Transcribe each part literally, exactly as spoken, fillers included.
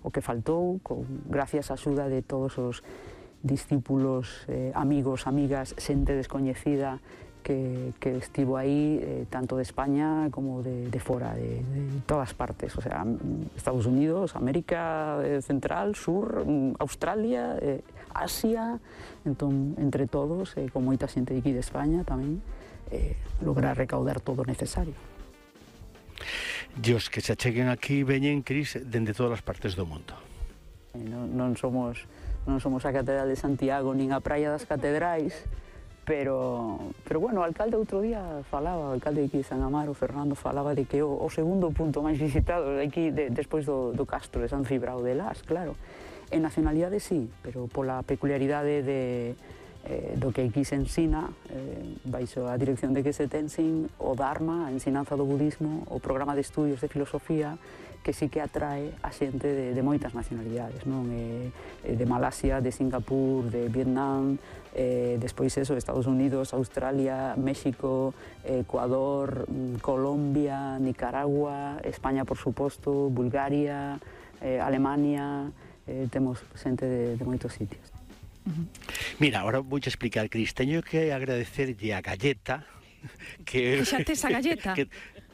o que faltou, con, gracias á axuda de todos os discípulos, eh, amigos, amigas, xente descoñecida que, que estivo aí, eh, tanto de España como de, de fora, de, de todas partes, o sea, Estados Unidos, América eh, Central, Sur, Australia, eh, Asia, entón, entre todos, eh, con moita xente de aquí de España tamén, eh, lograr recaudar todo o necesario. Dios, que se acheguen aquí veñen, Cris, dende todas as partes do mundo. Non, non somos non somos a Catedral de Santiago nin a Praia das Catedrais, pero, pero bueno, o alcalde outro día falaba, o alcalde de aquí de San Amaro, Fernando, falaba de que o, o segundo punto máis visitado de aquí, de, despois do, do Castro de San Cibrao de Las, claro. En nacionalidade sí, pero pola peculiaridade de, eh, do que aquí se ensina, eh, baixo a dirección de que se tensin o Dharma, a ensinanza do budismo, o programa de estudios de filosofía, que sí que atrae a xente de, de moitas nacionalidades, non? Eh, de Malasia, de Singapur, de Vietnam, eh, despois eso, Estados Unidos, Australia, México, Ecuador, Colombia, Nicaragua, España, por suposto, Bulgaria, eh, Alemania, eh, temos xente de, de moitos sitios. Uh-huh. Mira, ahora vou explicar, Cris, teño que agradecerlle a Galleta que... Que xa tes a Galleta? Que,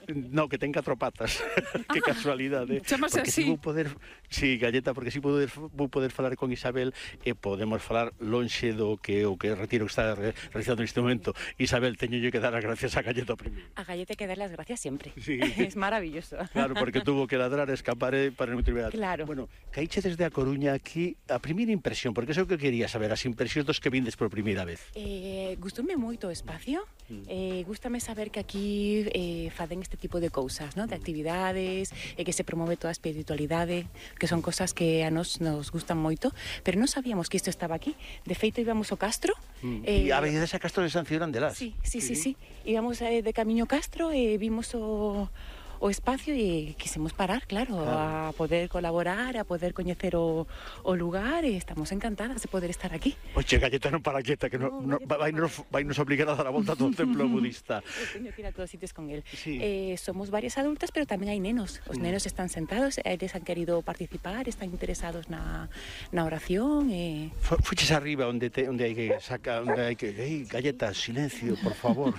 no, que ten catro patas. Que ah, casualidade. Chamase así. Si vou poder, sí, Galleta, porque si poder, vou poder falar con Isabel e podemos falar lonxe do que o que retiro que está realizando neste momento. Isabel, teño que dar as gracias a Galleta primeiro. A Galleta hay que dar las gracias siempre. Sí. Es maravilloso. Claro, porque tuvo que ladrar, escapar para non triviar. Claro. Bueno, caíche desde a Coruña aquí a primeira impresión, porque eso que quería saber, as impresións dos que vindes por primeira vez. Eh, gustoume moito o espacio. Mm. Eh, gústame saber que aquí eh, faden este tipo de cousas, ¿no? De actividades, eh, que se promove toda a espiritualidade, que son cosas que a nos nos gustan moito, pero non sabíamos que isto estaba aquí. De feito íbamos ao Castro. Mm. Eh, e a veces a Castro de San Cibrán de Las. Sí, sí, sí, sí. sí. Íbamos eh, de camiño Castro e eh, vimos o o espacio e quisimos parar, claro, claro, a poder colaborar, a poder coñecer o, o lugar e estamos encantadas de poder estar aquí. Oxe, Galleta non para quieta, que no, no, vai, nos, vai nos obligar a dar a volta a todo o templo budista. Eu teño que ir a todos sitios con él. Sí. Eh, somos varias adultas, pero tamén hai nenos. Os nenos están sentados, eles han querido participar, están interesados na, na oración. E... Fuches arriba onde, te, onde hai que saca, onde hai que... Ei, Galleta, silencio, por favor.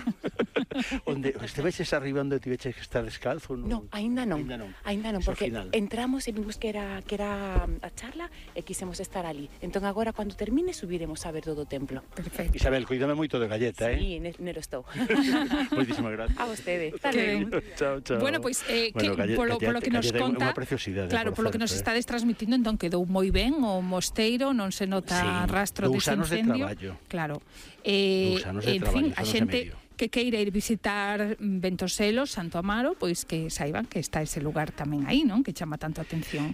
Onde estiveches arriba onde tiveches que estar descalzo? No, no aínda non. Aínda non, aínda non porque entramos e vimos que era que era a charla e quisemos estar ali. Entón agora cando termine subiremos a ver todo o templo. Perfecto. Isabel, cuídame moito de Galleta, eh? Sí, nero estou. Moitísimas gracias. A vostede. Chao, chao. Bueno, pois pues, eh, bueno, que Galleta, polo, polo que nos conta, claro, por polo que nos eh? estades transmitindo, entón quedou moi ben o mosteiro, non se nota sí, rastro dese incendio. De claro. Eh, en fin, a xente que queira ir visitar Ventoselo, Santo Amaro, pois que saiban que está ese lugar tamén aí, non? Que chama tanto a atención.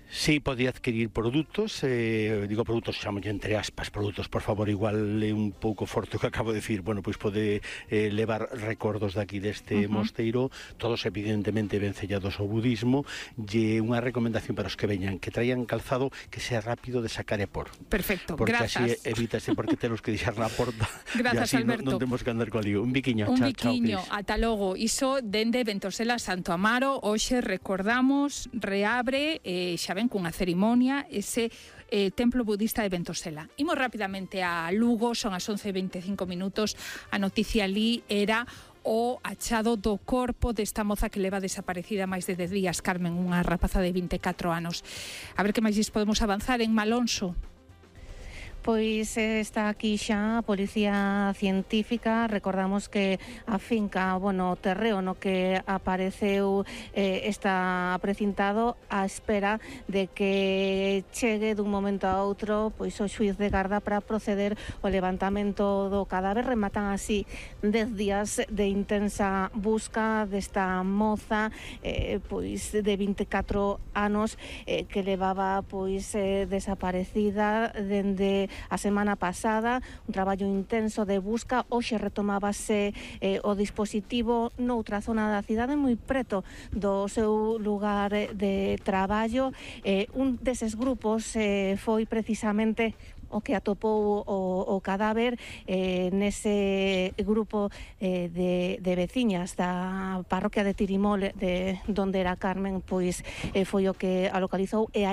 Sí, podía adquirir produtos, eh, digo produtos, xamolle entre aspas, produtos, por favor, igual é un pouco forte o que acabo de decir, bueno, pois pode eh, levar recordos daqui deste uh-huh. mosteiro, todos evidentemente ben sellados ao budismo, e unha recomendación para os que veñan, que traian calzado que sea rápido de sacar e por. Perfecto, porque grazas. Porque así evítase, porque temos que deixar na porta, grazas, e así Alberto. non, non temos que andar co lío. Un biquiño, Un chao, biquiño, chao, ata logo. Iso dende Ventosela Santo Amaro, hoxe recordamos, reabre, eh, xa ven cunha cerimonia, ese eh, templo budista de Ventosela. Imos rapidamente a Lugo, son as once e veinticinco minutos, a noticia ali era o achado do corpo desta moza que leva desaparecida máis de dez días, Carmen, unha rapaza de vinte e catro anos. A ver que máis podemos avanzar en Malonso. Pois está aquí xa a Policía Científica. Recordamos que a finca, bueno, o terreo no que apareceu eh, está precintado á espera de que chegue dun momento a outro pois o xuíz de garda para proceder ao levantamento do cadáver. Rematan así dez días de intensa busca desta moza eh, pois de vinte e catro anos eh, que levaba pois eh, desaparecida dende a semana pasada, un traballo intenso de busca. Hoxe retomábase eh, o dispositivo noutra zona da cidade moi preto do seu lugar de traballo. Eh, un deses grupos eh, foi precisamente o que atopou o, o cadáver eh, nese grupo eh, de, de veciñas da parroquia de Tirimol, de donde era Carmen, pois eh, foi o que a localizou e aí